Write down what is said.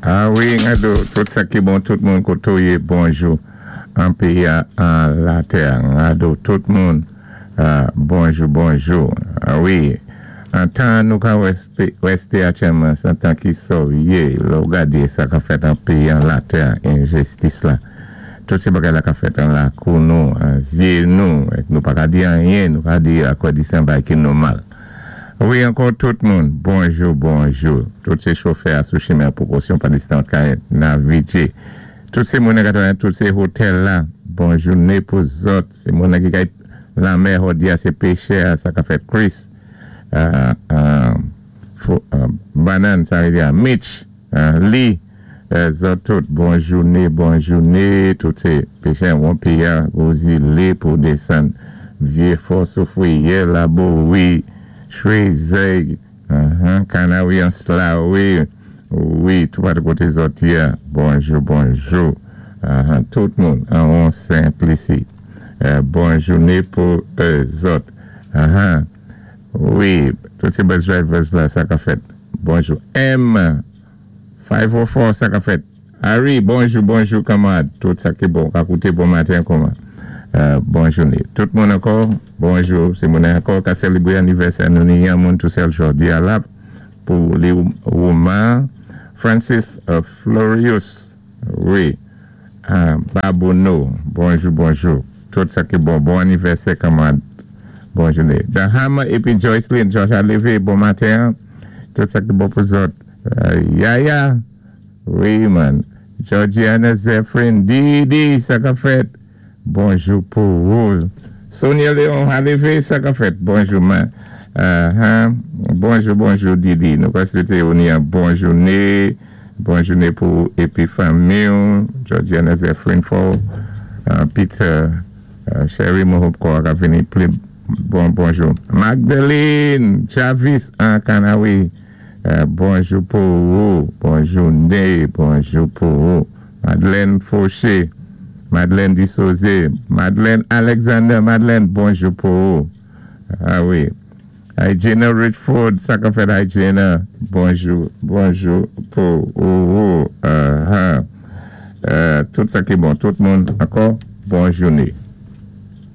A wi, gado, tout sa ki bon, tout moun koto yé, bonjou. An péyi an latè, gado, tout moun, bonjou, bonjou. A wi, an tan nou ka wèsté aktyèlman, sé an tan ki sòwyé, lè ou gadé sa ka fèt an péyi an latè, enjistis la. Tout sé bagay la ka fèt an lakou nou, an zyé nou, èk nou pa ka di anyen, nou ka di akwè di sé an bagay ki nòmal. Wi, ankò tout moun, bonjou, bonjou. Tout sé chofè a sou chimen pwokosyon pa distans ka navigé. Tout sé moun ka travay, tout sé otèl la, bon jouné pou zòt. Sé moun ki kay lanmè jòdi a sé péchè a, sa ka fèt Chris, Banan, sa vlé di a Mitch, Lee, zòt tout, bon jouné, bon jouné. Tout sé péchè won péyi a, gwo zilé pou désann Vyé Fò, Soufwiyè, Labowi, Chwézèy, Kanawi, Anslawi, wi, tout patou koté zòt yé a, bonjou, bonjou. Tout moun an won Sentlisi, bon jouné pou zòt. Wi, tout sé bus drivers la, sa ka fèt. Bonjou. M 504, sa ka fèt. Harry, bonjou, bonjou, kanmarad. Tout sa ki bon, ka kouté bon maten kòman. Bon jouné. Tout moun ankò, bonjou. Sé moun ankò ka sélébwé anivèsè nou ni yon moun tou sèl jòdi a la pou li Roman Francis Florius, wi, Babouno, bonjou, bonjou. Tout sa ki bon, bon anivèsè, kanmarad. Bon jouné. Dahama épi Joycelyn, George a lévé, bon maten. Tout sa ki bon pou zòt. Yaya, wi man. Georgiana Zephyrin, Didi, sa ka fèt. Bonjou pou ou. Sonia Léon a lévé, sa ka fèt. Bonjou, man. Bonjou, bonjou, Didi. Nou ka swété ou ni yon bon jouné. Bon jouné pou épi fanmi. Georgiana Zephyrin for Peter Sherry Mohopko ka vini pli bon bonjou. Magdalene Javis an Kanawi. Bonjou pou ou. Bon jouné. Bonjou pou ou. Madeleine Fauché. Madeleine Dissosé. Madeleine Alexander. Madeleine, bonjou pou ou. A wi. Hygiena Richford, sa ka fèt, Hygiena. Bonjou, bonjou pou ou. Tout sa ki bon, tout moun ankò, bon jouné.